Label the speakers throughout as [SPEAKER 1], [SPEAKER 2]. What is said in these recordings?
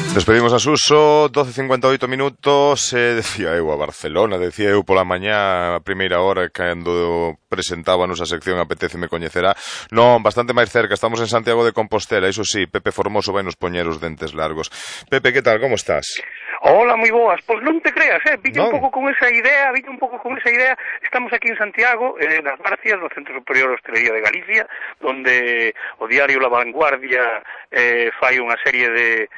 [SPEAKER 1] Despedimos a Suso, 12:58 minutos, decía eu a Barcelona, decía eu pola mañá a primeira hora cando presentábanos a sección Apetéceme coñecerá. Non, bastante máis cerca, estamos en Santiago de Compostela, iso sí, Pepe Formoso vai nos poñer os dentes largos. Pepe, que tal, como estás?
[SPEAKER 2] Hola, moi boas. Pois non te creas, viña
[SPEAKER 1] un
[SPEAKER 2] pouco con esa idea, estamos aquí en Santiago, nas Barcias, no Centro Superior de Hostelería de Galicia, donde o diario La Vanguardia fai unha serie de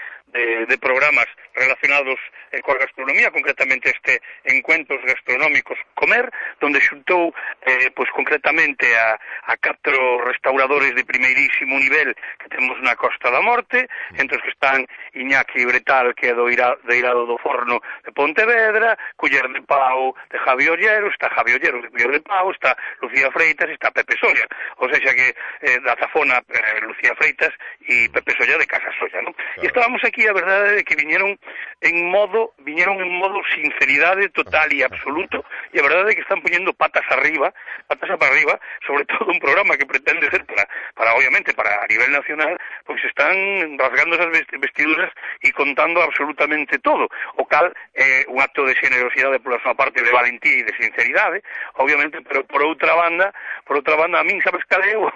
[SPEAKER 2] programas relacionados coa gastronomía, concretamente este Encuentros Gastronómicos Comer, donde xuntou pois concretamente a 4 restauradores de primeirísimo nivel que temos na Costa da Morte, entre os que están Iñaki Bretal, que é do Eirado do Forno de Pontevedra, Culler de Pau de Javi Ollero, está Javi Ollero de Culler de Pau, está Lucía Freitas e está Pepe Soria, ou seja que da Zafona Lucía Freitas e Pepe Soria de Casa Solla, non? E estábamos aquí, a verdade é que viñeron en modo sinceridade total e absoluto, e a verdade é que están poñendo patas para arriba, sobre todo un programa que pretende ser para obviamente, para a nivel nacional, pois están rasgando esas vestiduras e contando absolutamente todo, o cal é un acto de generosidade pola súa parte, de valentía e de sinceridade, obviamente, pero por outra banda, a min sabes cal é o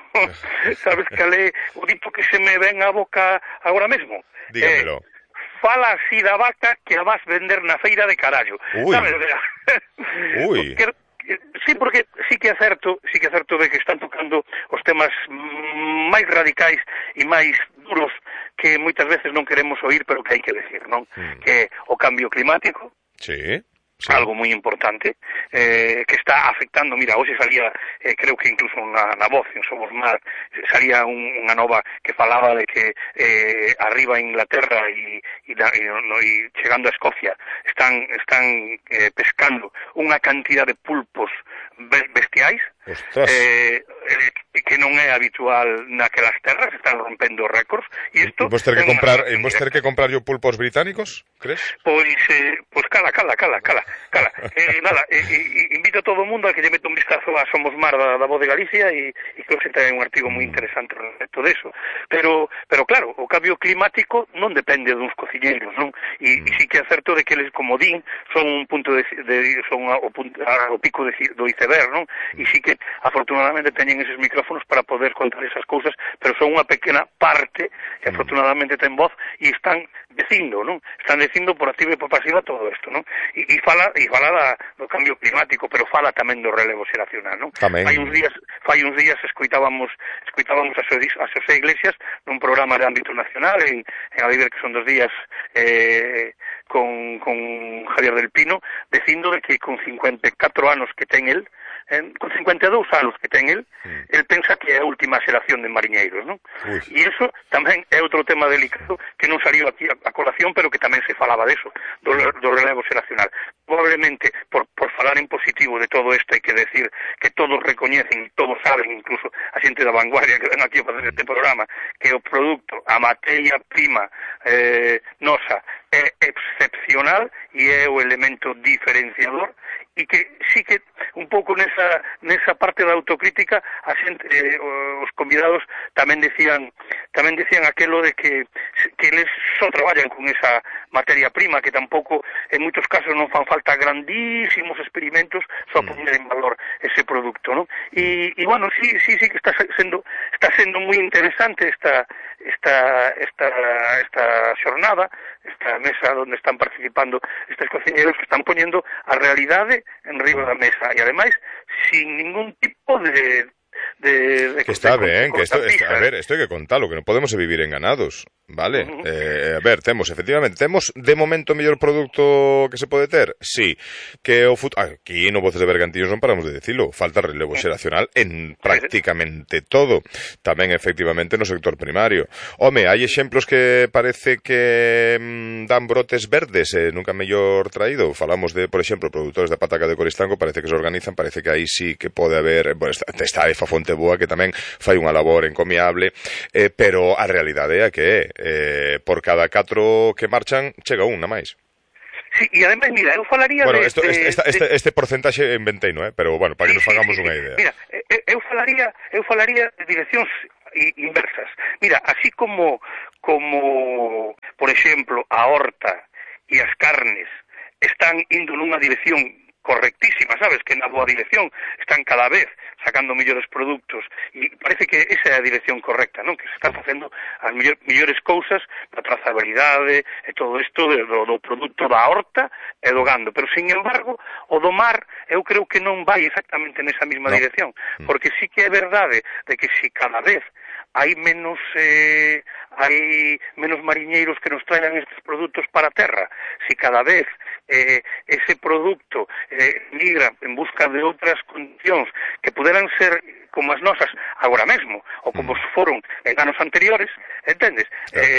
[SPEAKER 2] dito que se me ven á boca agora mesmo.
[SPEAKER 1] Dígamelo.
[SPEAKER 2] Fala así da vaca que a vas vender na feira de carallo.
[SPEAKER 1] Ui.
[SPEAKER 2] Sabes?
[SPEAKER 1] Ui.
[SPEAKER 2] Sí, porque sí que é certo de que están tocando os temas máis radicais e máis duros que moitas veces non queremos oír, pero que hai que decir, non? Que é o cambio climático.
[SPEAKER 1] Sí. Sí.
[SPEAKER 2] Algo moi importante, que está afectando, mira, hoxe salía, creo que incluso na Voz, en Somos Mar, salía unha nova que falaba de que arriba en Inglaterra e chegando a Escocia están pescando unha cantidad de pulpos bestiais, que non é habitual naquelas terras, están rompendo récords, e isto...
[SPEAKER 1] Vos ter que comprar yo pulpos británicos, crees?
[SPEAKER 2] Pois cala. Nada, invito a todo o mundo a que lle meta un vistazo a Somos Mar da Voz de Galicia e creo que ten un artigo moi interesante respecto deso. Pero claro, o cambio climático non depende duns cociñeiros, non? E sí que é certo de que eles, como din, son un punto son o pico do iceberg, non? E sí que afortunadamente teñen eses micrófonos para poder contar esas cousas, pero son unha pequena parte que afortunadamente ten voz e están dicindo, non? Están dicindo por activa e por pasiva todo isto, non? E fala do cambio climático, pero fala tamén do relevo xeracional, non? Fai uns días escoitábamos a Xosé Iglesias nun programa de ámbito nacional en Adiver, que son 2 días con Javier del Pino, dicindo de que con 54 anos que ten el, con 52 anos que ten el pensa que é a última xeración de mariñeiros, non? E iso tamén é outro tema delicado que non saliu aquí a colación, pero que tamén se falaba deso, do relevo xeracional. Probablemente, por falar en positivo de todo isto, hai que decir que todos recoñecen, todos saben, incluso a xente da Vanguardia que ven aquí a facer este programa, que o produto, a materia prima nosa, é excepcional e é o elemento diferenciador, e que sí que un pouco nesa parte da autocrítica a xente, os convidados tamén decían aquelo de que eles só traballan con esa materia prima, que tampouco en moitos casos non fan falta grandísimos experimentos só poñer en valor ese producto, non? E bueno, sí que está sendo moi interesante esta xornada, esta mesa onde están participando estes cociñeros que están poñendo a realidade en riba da mesa e ademais sin ningún tipo de
[SPEAKER 1] que está ben, que isto hai que contalo, que non podemos vivir enganados, vale? A ver, temos de momento o mellor produto que se pode ter, sí, que o aquí no Voces de Bergantiños non paramos de dicilo, falta relevo xeracional en prácticamente todo, tamén efectivamente no sector primario. Home, hai exemplos que parece que dan brotes verdes, nunca mellor traído, falamos de, por exemplo, produtores da pataca de Coristanco, parece que se organizan, parece que aí sí que pode haber, bueno, está Efa Fonteboa, que tamén fai unha labor encomiable, pero a realidade é que por cada 4 que marchan chega un, na máis.
[SPEAKER 2] Sí, e ademais, mira, eu falaría
[SPEAKER 1] este porcentaxe inventei, pero bueno, para que nos fagamos unha idea.
[SPEAKER 2] Mira, eu falaría de direccións inversas. Mira, así como por exemplo, a horta e as carnes están indo nunha dirección correctísima, sabes, que na boa dirección están cada vez sacando mellores produtos e parece que esa é a dirección correcta, non? Que se están facendo as mellores cousas da trazabilidade e todo isto do produto da horta e do gando, pero sin embargo o do mar eu creo que non vai exactamente nesa mesma dirección, porque sí que é verdade de que si cada vez hai menos mariñeiros que nos traigan estes produtos para a terra, si cada vez ese producto migra en busca de outras condicións que puderan ser como as nosas agora mesmo, ou como foron en anos anteriores, entendes?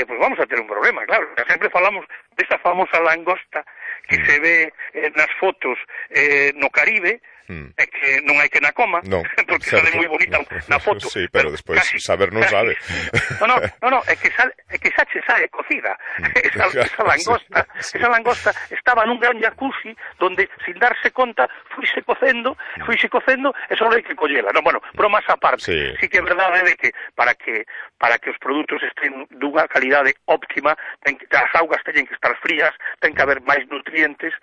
[SPEAKER 2] Pois vamos a ter un problema, claro. Sempre falamos desa famosa langosta que se ve nas fotos no Caribe, é que non hai que na coma, porque sale moi bonita na foto.
[SPEAKER 1] Sí, pero despois saber non sabe.
[SPEAKER 2] No, é que sae cocida. Esa langosta estaba nun gran jacuzzi donde, sin darse conta, fuise cocendo, e só hai que collela. No, bueno, bromas á parte. Sí que é verdade de que para que os produtos estén dunha calidade óptima, as augas teñen que estar frías, ten que haber máis nutrientes,